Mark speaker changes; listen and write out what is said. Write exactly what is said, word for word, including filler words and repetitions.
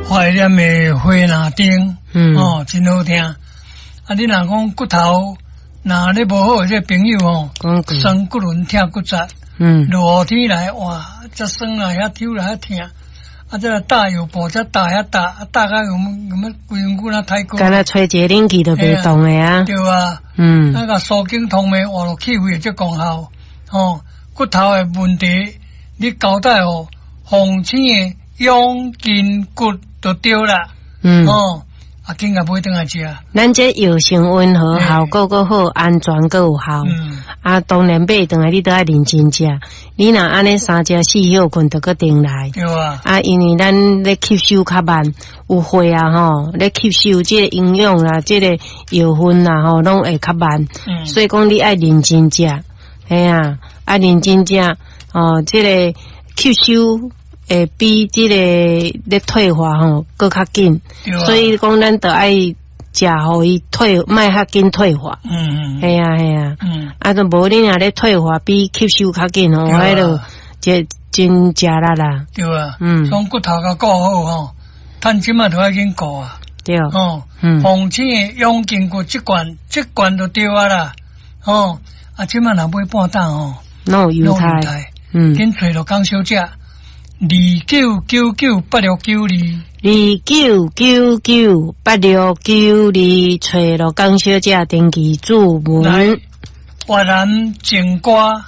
Speaker 1: 懷念的花籃燈，
Speaker 2: 嗯
Speaker 1: 哦，真好聽。啊，你若講骨頭，若咧無好的這個朋友吼，
Speaker 2: 講句，
Speaker 1: 酸骨輪疼骨節，
Speaker 2: 嗯，
Speaker 1: 落雨天來，哇，遮酸啊，遐抽啦，遐疼。啊，這個打藥布，遮打遐打，啊打甲有有乜規身軀若太過。
Speaker 2: 敢若吹一個冷氣都袂動的啊，
Speaker 1: 對啊，
Speaker 2: 嗯，
Speaker 1: 那個舒筋通脈，活絡氣血這功效，吼，骨頭的問題，你交代予鳳青的養筋骨就對啦，
Speaker 2: 嗯，
Speaker 1: 哦，啊，緊共買轉來食。
Speaker 2: 咱這藥性溫和，
Speaker 1: 嘿
Speaker 2: 效果閣好，安全閣有效。
Speaker 1: 嗯，
Speaker 2: 啊，當然買轉來你都愛認真食。你若按呢三食四歇睏，就閣重來。
Speaker 1: 對啊，
Speaker 2: 啊，因為咱咧吸收較慢，有血啊吼，咧吸收這個營養啦，這個藥分啦吼，攏會較慢。
Speaker 1: 嗯，
Speaker 2: 所以講你愛認真食，嘿啊，愛認真食哦，這個吸收會比這個咧退化吼閣較緊。
Speaker 1: 對啊，
Speaker 2: 所以講咱著愛食，予伊退，莫較緊退化。
Speaker 1: 嗯嗯，
Speaker 2: 嘿啊嘿啊，
Speaker 1: 嗯，
Speaker 2: 啊，都無你若咧退化比吸收較緊吼，
Speaker 1: 對啊
Speaker 2: 彼就這真食力啦。
Speaker 1: 對啊，
Speaker 2: 嗯
Speaker 1: 將骨頭共顧好吼，趁這擺就愛緊顧啊，
Speaker 2: 對，
Speaker 1: 哦，
Speaker 2: 嗯
Speaker 1: 鳳青的養筋骨這罐，這罐就對啊啦，哦，啊，這擺若買半擔吼，
Speaker 2: 攏有優待，嗯，
Speaker 1: 緊揣鹿港小姐，二九九九八六九二，
Speaker 2: 二九九九八六九二，揣鹿港小姐登記注
Speaker 1: 來
Speaker 2: 文，
Speaker 1: 越南情歌。